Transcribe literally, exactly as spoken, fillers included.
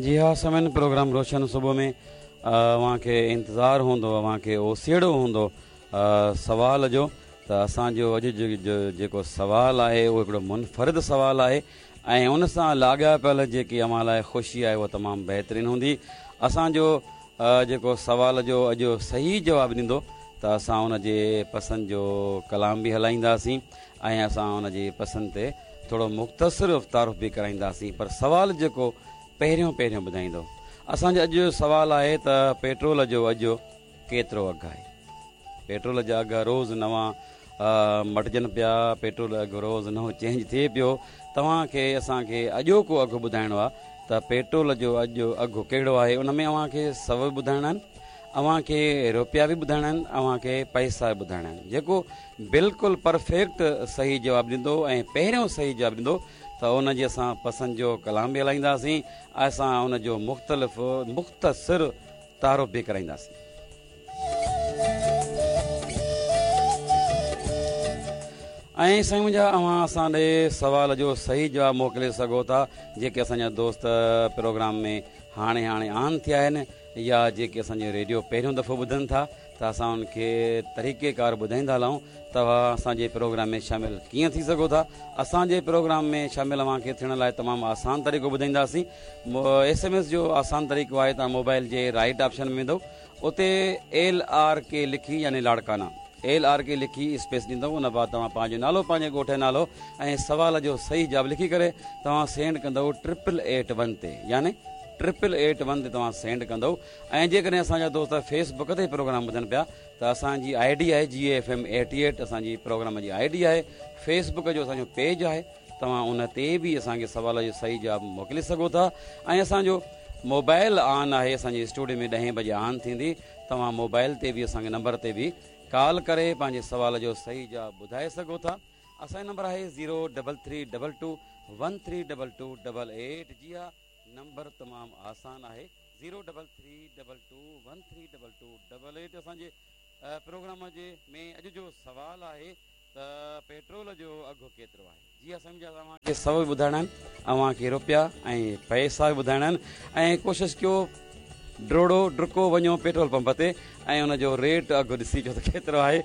جي ها سامعين، پروگرام روشن صبح ۾ اوهان کي انتظار هوندو، اوهان کي اوسيئڙو هوندو سوال جو. ته اسان جو اڄ جو جيڪو سوال آهي اهو هڪڙو منفرد سوال آهي ۽ ان سان لاڳاپيل جيڪي اوهان لاء خوشي آهي اها تمام بهترين هوندي. اسان جو جيڪو سوال جو اڄ صحيح جواب ڏيندو ته اسان ان جي پسند جو ڪلام به هلائينداسين ۽ اسان ان جي پسند تي ٿورو مختصر تعارف به ڪرائينداسين. پر سوال جيڪو پهريون پهريون ٻڌائيندو، اسان جو اڄ جو سوال آهي ته پيٽرول جو اڄ ڪيترو اگهه آهي؟ پيٽرول جا اگهه روز نوان مٽجن پيا، پيٽرول اگهه روز نئون چينج ٿئي پيو. توهان کي اسان کي اڄوڪو اگهه ٻڌائڻو آهي ته پيٽرول جو اڄ اگهه ڪهڙو آهي. ان ۾ اوهان کي سؤ به ٻڌائڻا آهن، اوهان کي روپيا به ٻڌائڻا آهن، اوهان کي پئسا به ٻڌائڻا آهن. جيڪو بلڪل پرفيڪٽ صحيح جواب ڏيندو ۽ پهريون صحيح جواب ڏيندو ته ان جي اسان پسند جو ڪلام به هلائينداسين، اسان ان جو مختلف مختصر تعارف به ڪرائينداسين. ۽ سائين منهنجا، اوهان اسان ڏي سوال جو صحيح جواب موڪلي سگهو ٿا. جيڪي اسان جا دوست پروگرام ۾ هاڻي هاڻي آن ٿيا آهن يا جيڪي اسان جو ريڊيو پهريون دفعو ٻڌن ٿا ته اسان انهن کي طريقي ڪار ٻڌائيندا هلون توهان اسان جي پروگرام ۾ شامل ڪيئن ٿي سگهو ٿا. اسان جي پروگرام ۾ شامل اوهان کي ٿيڻ لاء تمام آسان طريقو ٻڌائينداسين. ايس ايم ايس جو آسان طريقو آهي، توهان موبائل جي رائٽ آپشن ۾ ويندو، اتي ايل آر ڪي لکي يعني لاڙڪانا ايل آر ڪي لکي اسپيس ڏيندو. ان بعد توهان پنهنجو نالو، پنهنجي ڳوٺ جو نالو ۽ سوال جو صحيح جواب لکي ڪري توهان سينڊ ڪندو ٽرپل ايٽ ون تي، يعني ٽرپل ايٽ ون تي توهان سينڊ ڪندو. ۽ جيڪڏهن اسان جا دوست فيس بڪ تي پروگرام ٻڌن پيا ته اسان جي I D آهي جي ايف ايم ايٽي ايٽ، اسان جي پروگرام جي I D آهي. فيس بڪ جو اسان جو پيج آهي، توهان ان تي به اسان کي سوال جو صحيح جواب موڪلي سگهو ٿا. ۽ اسان جو موبائل آن آهي، اسان جي اسٽوڊيو ۾ ڏهين بجي آن ٿيندي، توهان موبائل تي به اسان کي نمبر تي به ڪال ڪري پنهنجي سوال جو صحيح جواب ٻڌائي سگهو ٿا. اسان جو نمبر آهي zero double three double two one three double two double eight. جي ها، نمبر تمام آسان آهي، zero double three double two one three double two double eight. اسان جي پروگرام جي ۾ اڄ جو سوال آهي ته پيٽرول جو اگهه ڪيترو آهي؟ جي ها سمجهيا، اوهان کي سؤ به ٻڌائڻا آهن، اوهان کي روپيا ۽ پئسا به ٻڌائڻا آهن. ۽ ڪوشش ڪيو ڊوڙو ڊڪو وڃو پيٽرول پمپ تي ۽ ان جو ريٽ اگهه ڏسي اچو ته ڪيترو آهي.